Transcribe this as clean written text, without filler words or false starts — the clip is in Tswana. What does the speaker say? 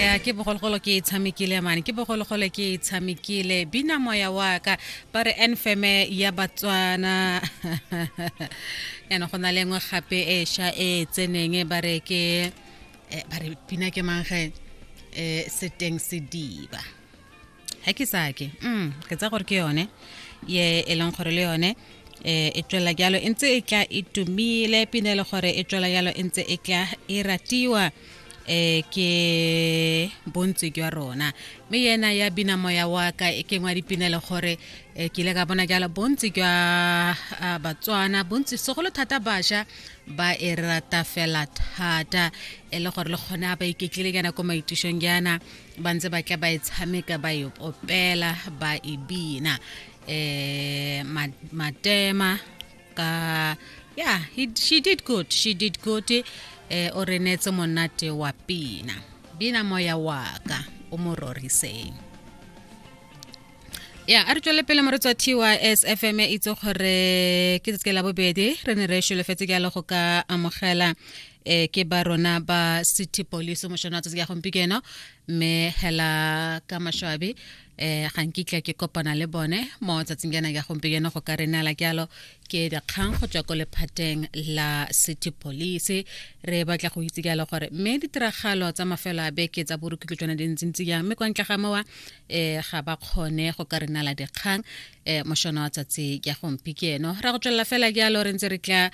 Ya, ke bogologolo ke e tshamekile mane, ke bogologolo ke e tshamekile. Bina Moya wa Ka, ba re enfeme ya Batswana. Yaanong go na le nngwe gape e sha e tseneng, ba re ke ba re pina ke mang ge? Seteng Sediba ga ke sake ke tsa gore ke yone ye e leng gore le yone e tswela jalo e ntse e tla e tumile, pina e le gore e tswela jalo e ntse e tla e ratiwa ke bontsi jwa rona. Mme yena ya Bina Moya Wa Ka e kengwa dipina le gore ke ile ka bona jalo bontsi jwa Batswana, bontsi segolo thata bašwa, ba e rata fela thata, e le gore le kgone a ba iketlile jaana ko maitušong jaana, ba ntse ba tla ba e tshameka, ba e opela, ba e bina. Matema ka, yeah, she did good, she did good. O re neetse monate wa pina, Bina Moya Wa Ka, o mo roriseng. Ya, a re tswele pele, moretsi wa TYS FM. Itse gore ke tsatsi la bobedi re ne re solofetse ke go ka amogela ke ba rona ba city police mošono wa tsatsi ya gompieno, mme hela ka maswabi ga nkitla ke kopana le bone mo tsatsing jana ya gompieno go ka re nala jalo ke dikgang go tswa ko lephateng la city police. Re batla go itse jalo gore mme ditiragalo tsa mafelo a beke tsa borukutlo tsone di ntsintsi jang, mme kwa ntle ga mowa ga ba kgone go ka re nala dikgang mošono wa tsatsi ya gompieno. Ra go tswelela fela jalo re ntse re tla.